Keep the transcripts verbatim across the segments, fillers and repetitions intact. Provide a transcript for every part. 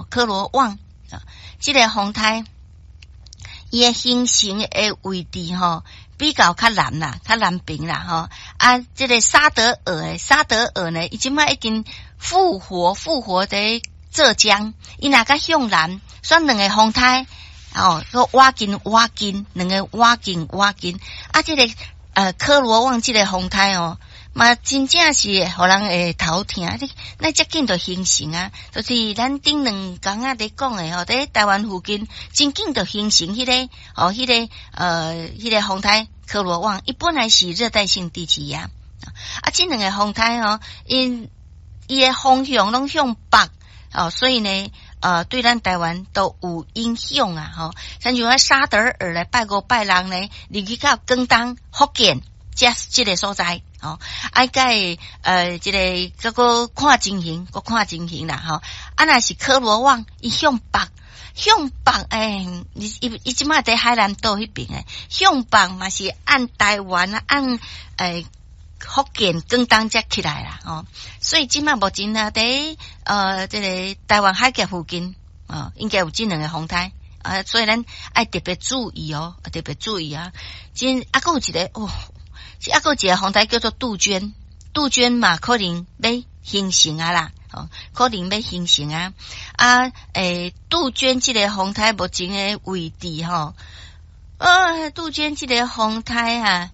吼，科羅旺啊，這個風颱伊的形成的位置吼，比較較南啦，較南邊啦吼。啊，這個沙德爾的沙德爾呢，伊這擺已經復活，復活佇浙江，伊若較向南，選兩個風颱哦，閣倚近倚近，兩個倚近倚近。啊，這個呃科羅旺這個風颱哦，嘛真正是予人會頭疼。你那遮緊就形成啊，就是咱頂兩工仔佇講的吼，佇台灣附近真緊就形成彼個哦，彼個呃，彼個風颱科羅旺，伊本來是熱帶性低氣壓啊，這兩個風颱吼，𪜶伊的方向攏向北哦，所以呢，呃，對咱台灣都有影響啊，吼，親像沙德爾咧，拜五拜六呢，入去到廣東、福建這這個所在，吼，啊，該呃，這個閣閣看情形，閣看情形啦，吼，啊，若是科羅旺，伊向北，向北，欸，伊伊伊這擺佇海南島彼邊的，向北嘛是按台灣啊，按欸。福建、廣東才起來啦，吼，所以這擺目前啊，佇呃這個台灣海峽附近，哦，應該有這兩個風颱啊，所以咱愛特別注意哦，特別注意啊。真啊，閣有一個哦，這啊閣有一個風颱叫做杜鵑，杜鵑嘛可能欲形成啊啦，哦，可能欲形成啊。啊，欸，杜鵑這個風颱目前的位置吼，呃，杜鵑這個風颱啊。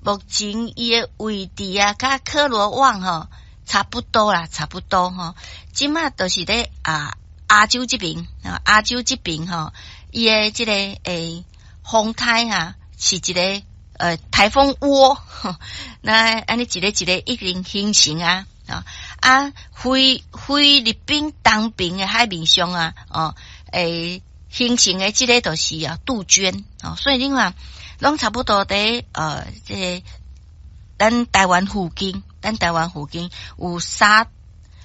目前伊的位置啊，佮科羅旺吼差不多啦，差不多吼。這擺就是咧啊亞洲這邊啊，亞洲這邊吼，伊的這個欸風颱啊，是一個呃颱風窩，那按呢一个一个已經形成啊啊啊，菲菲律賓東邊的海面上啊，哦欸形成的這個就是啊杜鵑哦，所以你看，攏差不多佇呃，這個咱台灣附近，咱台灣附近有沙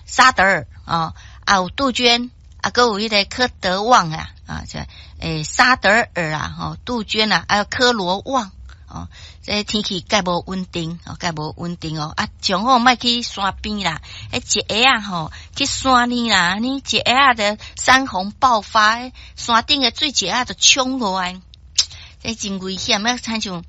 沙德爾哦，啊有杜鵑，啊閣有彼個科德旺啊，啊這欸沙德爾啊，吼杜鵑啊，還有科羅旺哦，這天氣蓋無穩定，哦蓋無穩定哦，啊上好莫去山邊啦，彼一下仔吼去山裡啦，按呢一下仔的山洪爆發，山頂的水一下就衝落來。這真危險啊！親像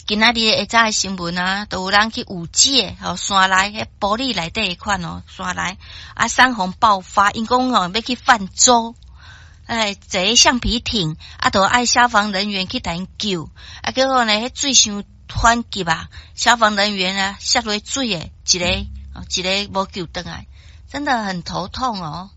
今仔日下早的新聞啊，都有人去五界吼山內，彼玻璃內底彼款哦，山內啊山洪爆發，𪜶講哦欲去泛舟，哎坐橡皮艇啊，都愛消防人員去共𪜶救，啊結果呢，彼水傷湍急啊，消防人員啊摔落水的，一个一个無救轉來，真的很頭痛哦。